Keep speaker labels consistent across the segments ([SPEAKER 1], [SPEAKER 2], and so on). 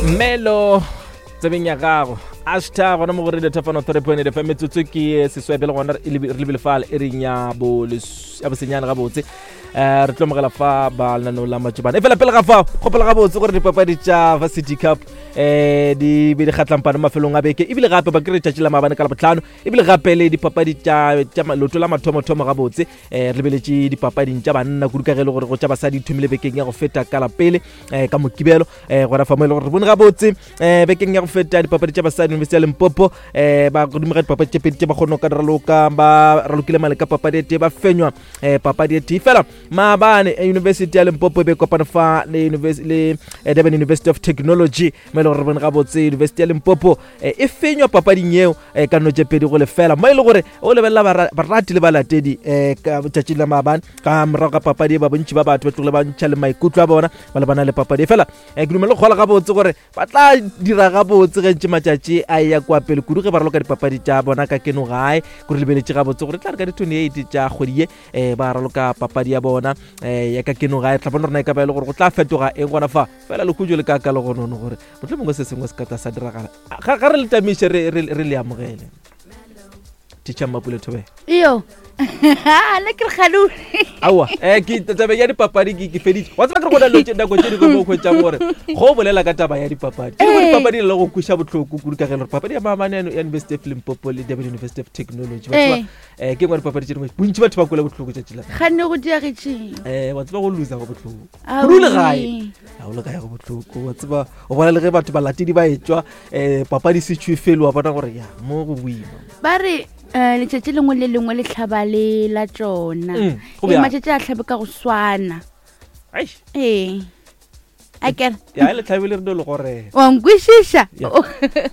[SPEAKER 1] Melo tsebeng ya gago ashta gona mo go radio thefano 3.8 fm metsotso ke seswai pele gona re lebile fale e reng ya bosenyane gabotse um re tlo mogela fa ba lenaneo la matšobana e fela pele ga fao gopela gabotse gore dipapadi tša varsity cup um di be di kgatlampane mafelong a beke ebile gape ba kry tšatši la maabane ka labotlhano ebile gape le dipapadi tša loto la mathomothomo gabotse um re lebeletše dipapading tša banna kudu ka ge e le gore go tša basadi di thomile bekeng ya go feta ka lapele um ka mokibelo um gona fa mo e le gore re bone gabotse um bekeng ya go feta dipapadi tša basadi university ya limpopo um ba godimo ga dipapadi tše pedi tše ba kgone go ka raloka ba ralokile male ka papadi e tee ba fenywa um papadi e tee fela maabane university ya limpopo e be kopane fa le, le durban university of technology mo e le gore re bone gabotse university ya limpopo e, e fenywa papading yeo e, ka no tše pedi go lefela mo e le gore o lebelela barati le balatedi um ka tšatšing la maabane ka morago ga papadi e ba bontši ba batho ba tlogile ba ntšha le maikutlo a bona ba lebana le papadi e fela um ke dumele go kgola gabotse gore ba tla dira gabotse ge ntše matšatši a ya kwa pele kudu ge ba raloka dipapadi tša bona ka keno gae kore lebeletše gabotse gore tla re ka di-28 tša kgwedi ye um ba raloka papadi ya bona um ya ka keno gae tla bona rona e ka ba e le gore go tla fetoga eng gona fa fela lehujo le ka ka le gonono gore motlho mongwe se sengwe se ka tla sa diragala ga re le tamiše re le amogele teacher Mmapule Thobela
[SPEAKER 2] iyo le ke re kgalule
[SPEAKER 1] aowa um ke taba ya dipapadi ke feditše wa tseba ke re go na le nako tše dingwe mo kgwetšang gore go o bolela ka taba ya dipapadi ke gore dipapadi le go kweša bohloko kudu ka ge gore papadi ya maabane ya University of Limpopo le Durban University of Technology wa tseba um ke ngwe dipapadi tše dingwe bontši batho ba kwele bohloko tšatši la
[SPEAKER 2] ganne go diagetšeng
[SPEAKER 1] um wa tseba go loser go bohloko kudu le gae ga o le gae go bohloko wa tseba o bona le ge batho balatedi ba etšwa um papadi se tšhwe felo wa bona gore ya mo go boima
[SPEAKER 2] ba re um letšatši lengwe le lengwe le tlhaba le la tšona mm, ee, matšatši a tlhabe ka go swana ee a kere
[SPEAKER 1] ya le tlhabe le re dolo gore
[SPEAKER 2] wa nkwešiša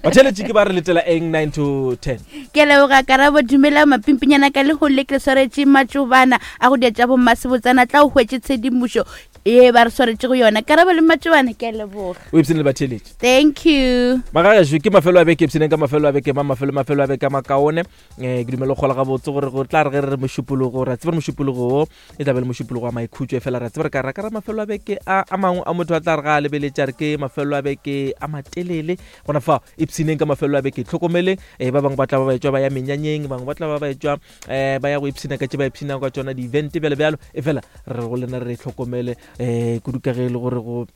[SPEAKER 1] batheletše ke ba re letela eng 9 to 10
[SPEAKER 2] ke leboga karabo dumela mapimpinyana ka lehono le ke le swaretše matšobana a go dia tša bommasebotsana tla o hwetše tshedimošo ye ba re swaretše go yona karabo le matšobana ke a leboga
[SPEAKER 1] o ipsene le batheletše
[SPEAKER 2] thank you
[SPEAKER 1] magagašo ke mafelo a beke ipsheneng ka mafelo a beke ma mafelo mafelo a beke a makaone um ke dumela go kgola gabotse gore go tla re ge re re mošupologo ra tseba re mošupologo wo e tla be le mošupologo wa maikhutšo e fela ra tseba re ka ra ka ra mafelo a beke a a mangwe a motho a tla re ga a lebeletše a re ke mafelo a beke a matelele gona fa ipshineng ka mafelo a beke tlhokomeleng um ba bangwe ba tla ba ba etšwa ba ya menyanyeng bangwe ba tla ba ba etšwa um ba ya go ipshina ka tše ba ipshinang ka tšona di-event bjalo bjalo e fela re go lena re tlhokomele um kudu ka ge e le gore go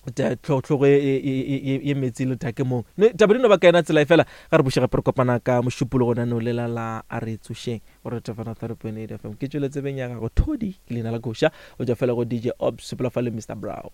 [SPEAKER 1] tlhogo e, e, e, ye metsi le take mong taba di no ba ka yona tsela e fela ga re buše gape re kopana ka mošupologo nano lela la a re tsošeng gore tefana 3.8 fm ke tšwele tsebeng ya gago thodi ke leina la koša o tšwa fela go dj ops sepela fa le mr brown.